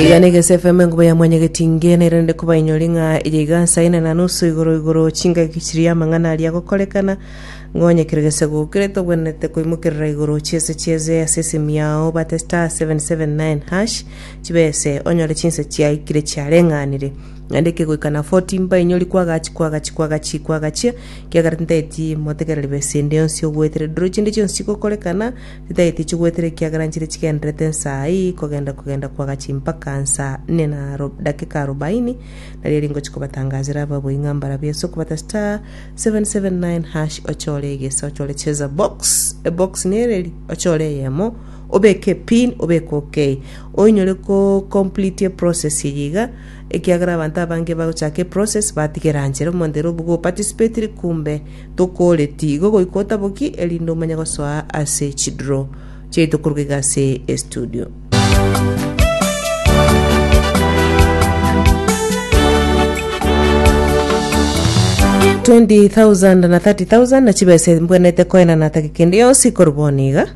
Iga negese FM enkuba ya mwanyagetinge nairende kobainyori ng'a eye iga nsa ine na nusu igoro igoro chingaki chiria amang'ana aria agokorekana ng'onye kere gese gokire tobwenerete koimokerera igoro chiese chieze ase esimi yao bate star 779 hash chibese onyore chinsa chiaikire chiareng'anire naende kegoika na 40 mbainyori kwagachi kwagachi kwagachi kwagachia kiagera tintageti motegereri besa ende yonsi ogwetere duro chinde chionsi chigokorekana Titageti chigwetere ekiagera nchire chigendererete nsa ii kogenda kogenda kwagachi mpaka nsa nne na dakika arobaini, nario eri ngochia kobatangazera ababui ng'a mbarabwo ase okobata *779# ochore egesa ochore cheza box ebox nereri ochore eyemo obeke epin obeke okay oinyore ko complete eprocess eye iga ekiagera abanto abange bagochaka eprocess batigera nchera omonto ere obuga oparticipatiri kumbe Tokoreti igo goika otaboki, erinde omanye gosoa ase chidraw chiaito koruga iga ase estudio. $20,000 na 30,000 na chibesa mbwenerete koenana tageka ende yonsi korwa bono iga.